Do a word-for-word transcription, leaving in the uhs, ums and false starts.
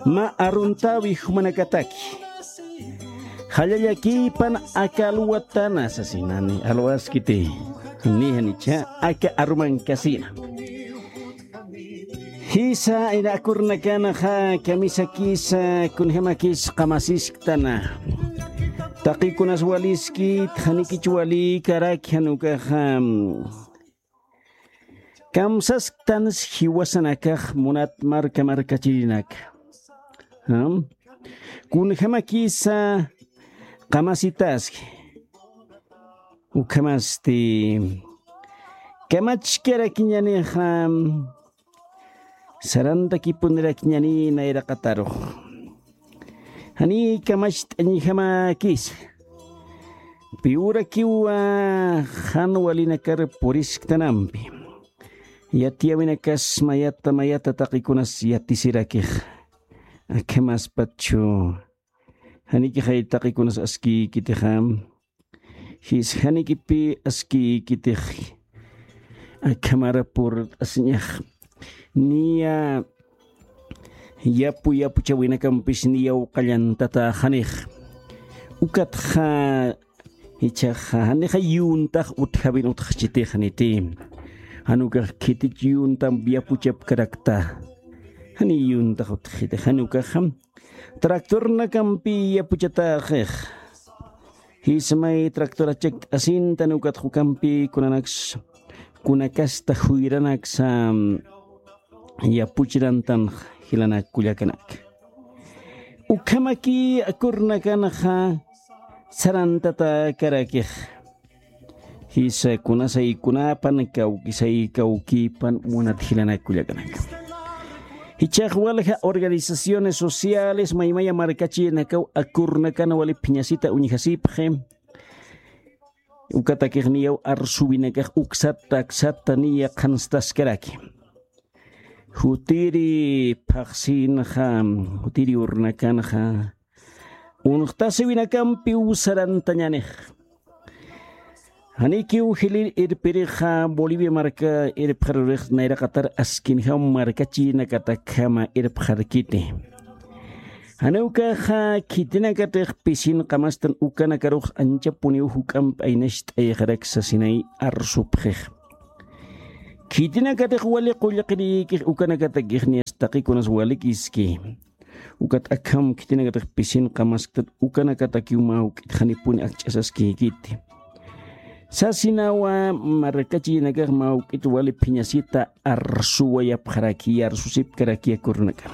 mä aruntäwi jumanakataki. Jallallakïpan aka alwatana sasinani alwaskiti. Ni janicha aka arumankasina. Jisa ina akurnakanxa kamisakisa kunjämakis qamasisktana. Taqikunas waliskit janikich walïkaraki jan ukaxa. Kamsasktansi jiwasanakax munat marka markachirinaka. Kunjämakisa qamasitaski. Ukhamasti kamachkarakiñanixa sarantakipunirakiñani nayraqatarux. Janiy kamacht'añjamäkisa. Piwrakiwa jan walinakar purisktanampi. Yatiyäwinakas mayata mayata taqikunas yatisirakix. Akhamaspachu janikixay taqikunas askïkitixa. Jis janikipï askïkitix. Akhamara purt'asiñax. Niya yapu yapuchäwinakampis niyaw qallantatäxanix. Ukatxa jichhaxa janixa yuntax utjawin utjxchitix janiti. Jan ukax khitich yuntamp yapuchapkarakta. Janiy yuntax utjxiti jan ukaxa tractornakampi yapuchatäxix. Jismay tractorachakt'asintan ukatxa ukampi kunanaks kunakasta juyranaksa yapuchirantan jilanak kullakanaka. Ukhamakï akurnakanxa sarantatäkarakix. Jisa kunasay kunapan kawkisay kawkïpan munat jilanak kullakanaka. Jichhax walja organizaciones sociales maymaya markachïnakaw akurnakan wali phiñasita uñjasipxi. Ukatakix niyaw arsuwinakax uksata aksata niya qhanstaskaraki. Jutiri phaxsinxa, jutiri urnakanxa unxtasiwinakampiw sarantañanix. Janikiw jilïr irpirixa Bolivia marka irpxarurix nayraqatar askinjam markachïnakatakhama irpxarkiti. Jan ukaxa khitinakatix pisin qamastan ukanakarux anchapuniw juk'amp aynacht'ayxarak sasinay arsupxix. Khitinakatix wali qullqirïkix ukanakatakix niyas taqikunas walikïski. Ukat akham khitinakatix pisin qamasktat ukanakatakiw mä juk'it janipuni akch'asaskïkiti. Sasinawa markachïnakax mä juk'it wali phiñasita arsuwayapxaraki arsusipkaraki akurnakan.